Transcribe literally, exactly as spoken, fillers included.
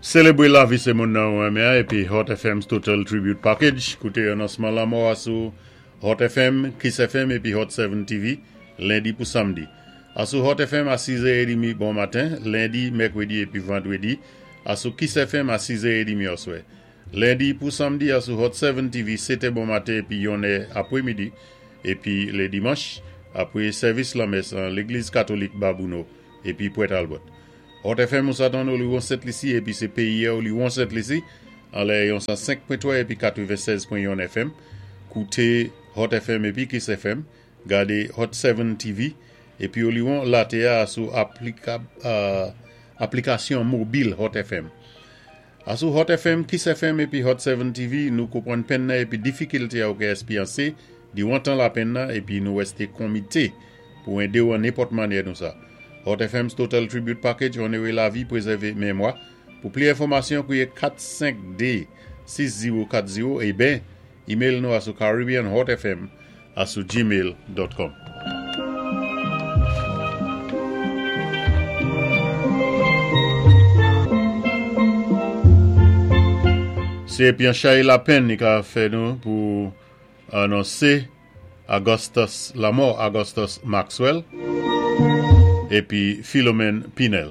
Sélébwé lavi sé moun nan ou renmen épi Hot F M's Total Tribute Package. Kouté anonsman lanmò a sou Hot F M, Kiss F M épi Hot sept T V, lendi pou samdi. Asou Hot F M a sis è trant bon maten, lendi, mèkwédi épi vandwédi. Asou Kiss F M a sis è trant oswè. Lendi pou samdi asou Hot sept T V, sèt è bon maten épi yon è apwémidi. Épi lé dimanch, apwé sèvis lanmès an Légliz Katolik Babouno épi Port Albert. Hot F M ou sa tann Oliwon Sent Lisi épi sé péyi Oliwon Sent Lisi anlè yon san senk pwen twa épi katwennsèz pwen yon F M. Kouté Hot F M épi Kiss F M. Gadé Hot sept T V épi Oliwon laté a sou aplika, euh, aplikasyon mobil Hot F M. Asou Hot F M, Kiss F M épi Hot sept T V, nou konpwann penn nan épi difikilté a ou ka èspéryansé, diwan tan lapenn nan épi nou wèsté komité pou édé ou an nenpòt mannyè nou sa. Hot F M's Total Tribute Package, onoré lavi, pwézèvé mémwa. Pou plis enfòmasyon, kwiyé kat senk de sis zewo kat zewo é ben, email nou asou caribbeanhotfm asou gmail pwen com. Sé épi an chay lapenn ni ka fè nou pou anonsé Augustus, lanmò Augustus Maxwell épi Philomène Pinel.